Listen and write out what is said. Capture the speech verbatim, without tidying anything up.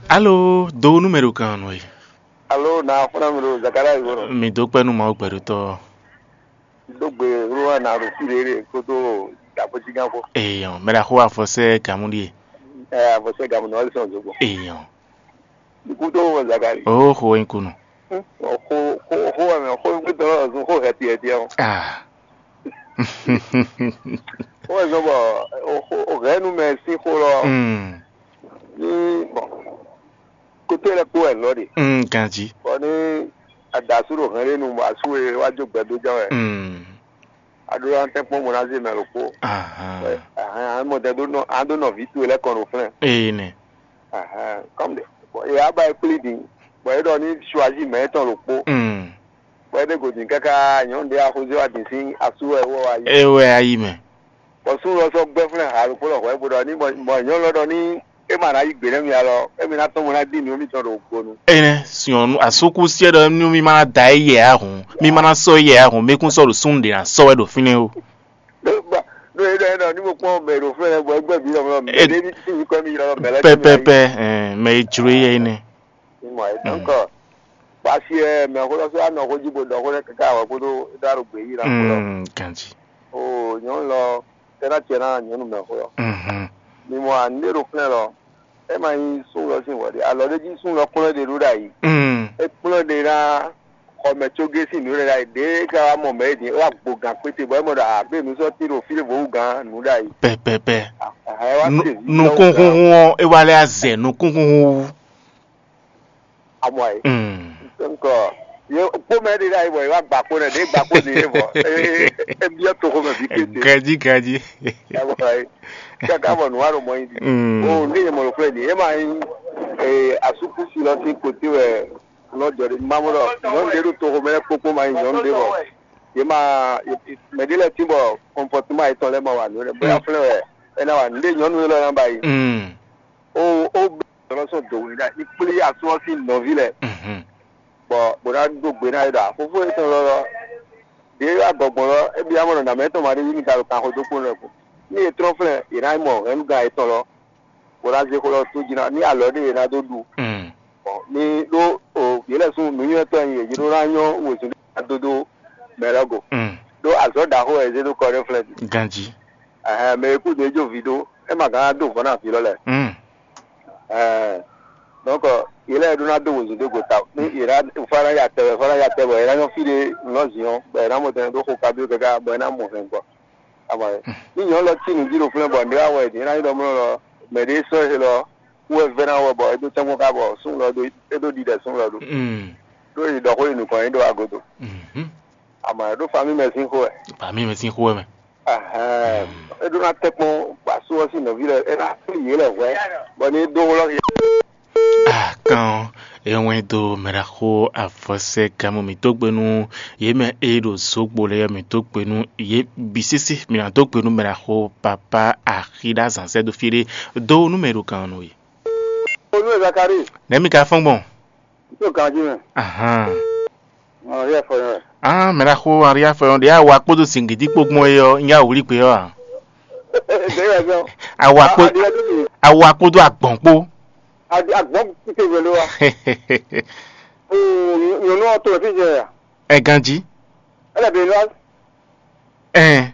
Alo, do nú mɛ ɖo kan nɔ e. Alo, na xɔna mi ɖo Zakaria yi bɔnɔ. Mi dó kpɛ́ nú Mawu gbɛɖotɔ́. Dó gbe wúlúwà na ɖo fí ɖé ɖé kótó dàbójigán kó. Èèyàn, mɛ ɖaxó afɔsɛ gàmú ɖíe. Ɛ, afɔsɛ gàmú nɔ ɔlí sɔn zogbo. Èèyàn. Ikú tó wọ Zakari. Ó xo wɛ nyí kunú. Xo xo xo wɛ mɛ xo gbé tɔn lɔ zun xo hɛti hɛti ɔ. Ah. Xo wɛ zɔn bɔ o xo o hɛ nu mɛ sín xo lɔ. Mm. Ní bɔn kótó lɛ kpó wɛ lɔ ɖe. Mm, ganji. Bɔ ní adasu ɖo hɛn ɖé nu bɔ asu e wá jó gbɛdó ján wɛ. Mm. Aɖó an tɛ́nkpɔ́n mɔ ná zé mɛ ɖokpó. Ahan. Ahan, an mɔ tɛ ɖó nɔ an ɖó nɔví towe lɛ́ kɔn ɖo flɛ́n. Ee nɛ. Ahan, kɔm ɖe. Bɔ e wá ba e kplí din, bɔ é ɖɔ ní suazi mɛ étɔn ɖokpó. Mm. Bɔ é ɖe gǒdin káká nyɔ̌nu ɖé axɔzé wá din sín asú wɛ wɔ wá yi. É wɛ ayi mɛ. Bɔ súnnu ɔ́ sɔ́ gbɛ́ flɛ́n ha ɖokpó lɔ hwɛ̌ bó ɖɔ ní mɔ nyɔ̌nu lɔ ɖɔ ní é ma ná yí gbe nɛ́ mi alɔ, émi ná tɔ́n mɔ ná dín nǔ mitɔn ɖo gbonu. Énɛ́, nyɔ̌nu asúkúsiɛ ɖɔ nú mì ma ná da ɛ yɛ ǎ hǔn, mì ma ná sɔ́ ɛ yɛ ǎ hǔn, mì kún sɔ́ ɖo súnnu ɖě ná sɔ́ wɛ ɖo fínɛ́ ó. Ɖó ba ɖó é ɖɔ é ɖɔ ní mo kpɔ́n mɛ ɖo flɛ́ lɛ́ɛ bɔ é gbɛ́ bǐ lɔmlɔ mɛ Ɛ- ɖé ní tín yi kɔ mì yi lɔ mɛ lɛ́ɛ Pɛpɛpɛ, ɛn, mɛ e jló yɛ énɛ́. Ní mɔ ɛ dɔnkɔ. Basi ɛ mɛ xó lɔ sɔ́ anɔ xó jí bo ɖɔ xó lɛ́ɛ káká wɛ kpódó é ɖó aɖo gbě yí ná xó lɔ. Mm, ganji. O nyɔ̌nu lɔ é ná tiɛ ná nyɔ̌nu mɛ xó lɔ. Mhm. Mi mɔ anu ɖé ɖo flɛ́ lɔ, é ma nyí sún lɔ sín hwɛ ɖé, alɔ ɖé jí sún lɔ kplɔ́n ɖe ɖó ɖ'ayǐ. Mm. É kplɔ́n ɖe ná xɔmɛ có gé sín nǔ ɖé ɖ'ayǐ ɖě é ka wá mɔ mɛ é din é wá gbo gǎn kpéte bɔ é mɔ ɖɔ agbé nǔ sɔ́ tín ɖo fí ɖěvo wú gǎn nǔ ɖ'ayǐ. Pɛpɛpɛ. Ahɛn wá Nu- se vǐ Nukúnxúnxún ɔ́, é wá lɛ́ azɛ nukúnxúnxún wú. Amɔ ayé. Mm. Nkɔ ye kpó mɛ ɖé ɖ'ayǐ bɔ ye wá gbà kpó nɛ ɖě gbà kpó ní é bɔ é é byɔ́ toxo mɛ bǐ kété. Ganji, ganji. Káká bɔ nǔ wa ɖo mɔ nyi. Mm. O ní yɛ mɔ ɖo kplé ní yɛ ma nyí asúkúsi lɔ sín koté wɛ nɔ jɔ ɖe má mɔ ɖɔ nyɔnu ɖé ɖo toxo mɛ lɛ kpókpó ma nyí nyɔnu ɖé bɔ yɛ ma mɛ ɖé lɛ tín bɔ kɔnpɔtuma yetɔn lɛ ma wa nǔ lɛ bóyá flɛ́ wɛ ɛ ná wa nǔ ɖé nyɔnu élɔ́ ná ba yi. Mm. O o bɛ lɔ sɔn dǒ wɛ ɖa ní kplé asú ɔ́ sín nɔví lɛ Mhm. Bɔ bó ná ɖó gbe ná é ɖɔ fofó yětɔn lɔ lɔ ɖě wá gbɔgbɔn lɔ é byɔ́ mɔ ɖɔ nǎmɛ tɔn ma ɖé yí mi ka ɖo kanxo dó kpó nɔ kú ní è trɔ́n flɛ́ è nǎ mɔ hɛ̌nnugán yětɔn lɔ bó ná zé xó lɔ tó jí ná ní alɔ ɖé è nǎ dó ɖu Mm. Bɔ ní ɖó o yě lɛ sún nǔnywɛ́tɔ́ nyi yě ɖó ná nyɔ́ wezun ɖé ná dó dó mɛ lɔ go Mm. Ɖó azɔ̌ ɖaxó wɛ è zé dó kɔ ɖé flɛ́ jí Ganji. Ɛhɛn mɛ e kú dó é jó vi ɖó é ma gán ná dó vɔ̌ ná vǐ lɔ lɛ Mm. Ɛɛ, donc yě lɛ́ɛ ɖó ná dó wezun dó go ta ní yě ná fá ná ya tɛ wɛ fá ná ya tɛ bɔ yě ná nyɔ́ fí ɖé nǔ nɔ zǐn ɔ́ bɔ yě ná mɔ tɛn ɖó xo kabyó káká bɔ yě ná mɔ hɛn gbɔ. Ama yɛ ní nyɔ̌nu lɔ cí nǔ jí ɖo flɛ́ bɔ nǔ ɖé wá wɛ yě ná nyí ɖɔ mlɔ́ lɔ mɛ ɖé sɔ́ e lɔ kú wɛ vɛ́ ná wɛ bɔ é dó tɛ́nkpɔ́n ká bɔ súnnu lɔ ɖó é ɖó ɖiɖɛ súnnu lɔ ɖó Mm. Ɖó yě ɖɔ xó yi nukɔn yě ɖo agodo. Mhm. Ama yɛ ɖó famí mɛ sín xó wɛ. Famí mɛ sín xó wɛ mɛ. Ahɛn, é ɖó ná tɛ́ kpɔ́n asú ɔ́ sín nɔví lɛ́ɛ, é ná flí yě lɛ́ hwɛ̌, bɔ ní é dó wlɔ́ yě. Kan ɔ́, é wɛ́n dó mɛɖaxó avɔsɛ́gámɔ mǐtɔn gbe nú yě mɛ e ɖo zǒgbo lɛ́ɛ mǐtɔn gbe nú yě bǐ sésé. Mǐ ná dó gbe nú mɛɖaxó papá axi ɖó azǎn sɛ́ dó fí ɖé dó nú mɛ e ɖo kan ɔ́ nú we. Onú e Zakari, Nɛ̌ mi ka fɔ́n gbɔn? Tó ganjí mɛ. Ahán. Ɔn yɛ fɔ yɛ. Ah, mɛ ɖaxó Henri Afɔyɔn ɖe awa kpódó zǐngídi kpó gbɔn é ɔ́, nyí awǔlí gbé ɔ́ ǎ. Ɖe yɛ zɔn. Awa kpó Aɖi ɛdí mi. Awa kpódó agbɔ̌n kpó. Aɖi agbɔn kike wele wa. Oo, nyɔnu ɔtɔ fi jɛ ya. Ɛ ganjí. Ele be lɔ. Ɛn.